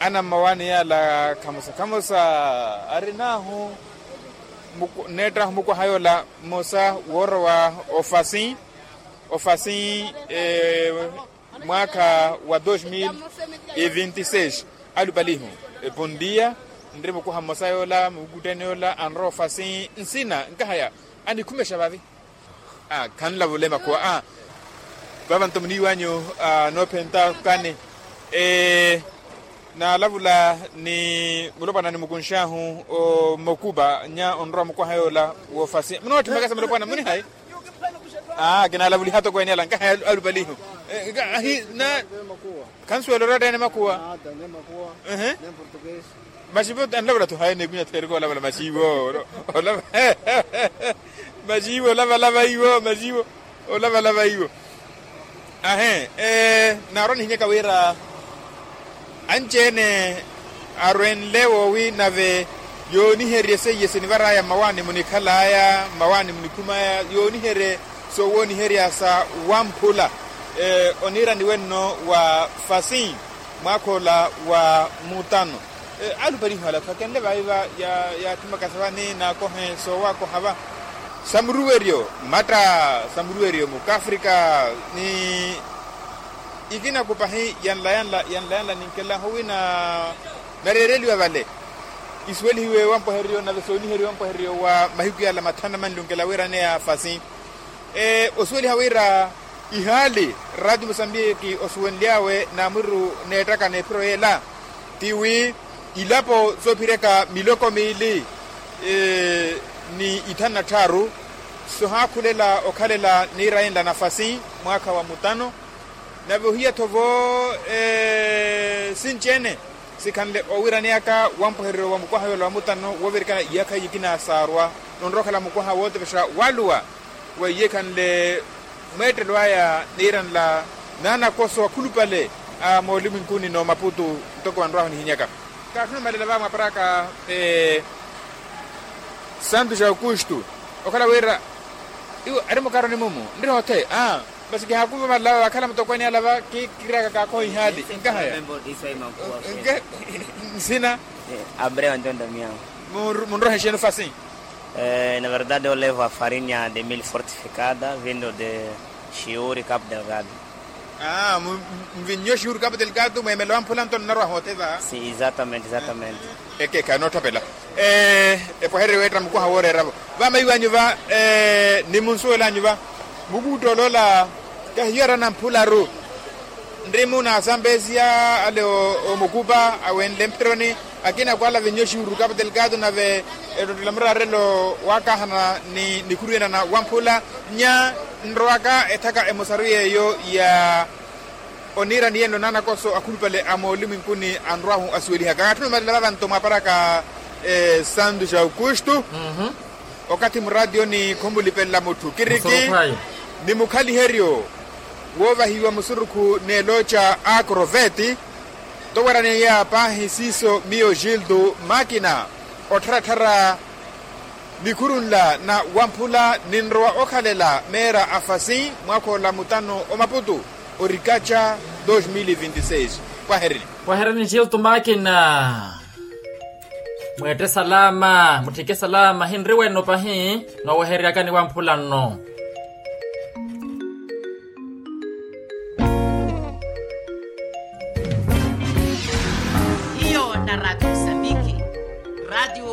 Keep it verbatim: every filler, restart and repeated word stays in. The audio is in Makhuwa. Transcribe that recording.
Ana mmawaani yala khamosa khamosa arin'ahu, nneett'ahu mukwaha yoola mmosa woorowa ofasi ofasi mwaakha wa dos mil e vinti seis. Alupalihu, epondiya nri mukwaha mmosa yoola mukutteni yoola anrowa ofasi nsina nkahaya anikhumexa vavi. Khanlavula emakhuwa. Vava nto muniiwanyu noophenta kani naalavula ni mulopwana nimukunx'ahu omokupa nya onrowa mukwaha yoola wofasi munootthimaka sa mulopwana munihayi. Kinalavuliha toko eneela nkaha alupalihu. Ahi na khansuwela oratta ene makuwa. Maxivo anlavula tho hayi neekunya therika olavula maxivo. Maxivo olavalava iwo maxivo olavalava iwo. Ahe. Naarwa nihinyaka wira anci-ene arwenle woowi nave yooniherye seiye sinivar'aya mmawaani munikhal'aya mmawaani munikhum'aya yooniherye soowooniherya sa wamphula oniiraniwe nno wa fasi mwaakha ola wa mutano. Alupalihu ala tho akenle vaiva yaatthimaka sa vani naakohe soowakoha va sa muruweryo mmatta sa muruweryo mukafrika ni ikina kupahi yanla yanla yanla yanla ninkelahu wina nareereliwa vale isuwelihiwe wampweheriyo nave sooniheriwe wampweheriyo wa mahiku yala mathanu na manlunkela wira aneya fasi. Osuweliha wira ihaali raati musambiki osuwenly'awe naamwiru neettaka n'ephiro yeela ti wi ilapo soophireka miloko miili ni ithanu na tthaaru sohaakhulela okhalela niirayenla nafasi mwaakha wa mutano. Nave ohiya-tho vo sinci-ene sikhanle owiraneyaka wampwehereryo wa mukwaha yoola wa mutano woovirikana iyaakha iyikina saarwa nonrowa okhala mukwaha wootepexa waluwa weiye ikhanle mweettelo aya niiranla naanakoso akhulupale a moolumwenkuni n'omaputu. Ntoko vanrwahu nihinyaka kaatthuna omalela va mwaparaka santu ja aukustu okhala wira iwo ari mukaroni mumu nri hothe. Masi kihaakuva malava vakhala mutokweene alava kiikiryaka kaakoha ihaali nkahaya nsina. Abreu antonda miyangu. Munrohe xeeni ofasi? Na verdade olevo a farinya de mil fortificada vindo de xiuri capo delgado. Mvinnyo xiuri capo delgado mweemela wamphula nto nnarwa hoothe va. Si exatamente exatamente. Ekekha nootthapela epwehererye weetta mukwaha wooreera-vo vamaiwanyu va ni munsuwelanyu va mukuutta oloola kahiyo arana mphularu. Nrimu na asambesia ale omukupa awenle mphironi akina kwala vinyo xiuru capo delgado nave ettottela muraarelo waakahana ni nikhuru ena na wamphula nya nrowaka ethaka emosaru yeeyo ya oniirani yenno naanakoso akhulupale a moolumwenkuni anrwahu asuwelihaka kaatthuna omalela vavanto mwaparaka santu ja aukustu. Okathi muraatiyoni khumulipelela mutthu kiriki ni mukhaliheryo woovahiwa musurukhu n'elooca a akroveti towaraneya paahi siiso miyo gildo makina ottharattharya nikhuru nla na wamphula ninrowa okhalela meera a fasi mwaakha ola mutano omaputu orikaca dos mil e vinti seis. Pwaherini. Pwaherini gildo makina. Mweette salama mutthike salama hinri wenno pahi noowehereryakani wamphula nno. Hiyo na radio msambiki radio.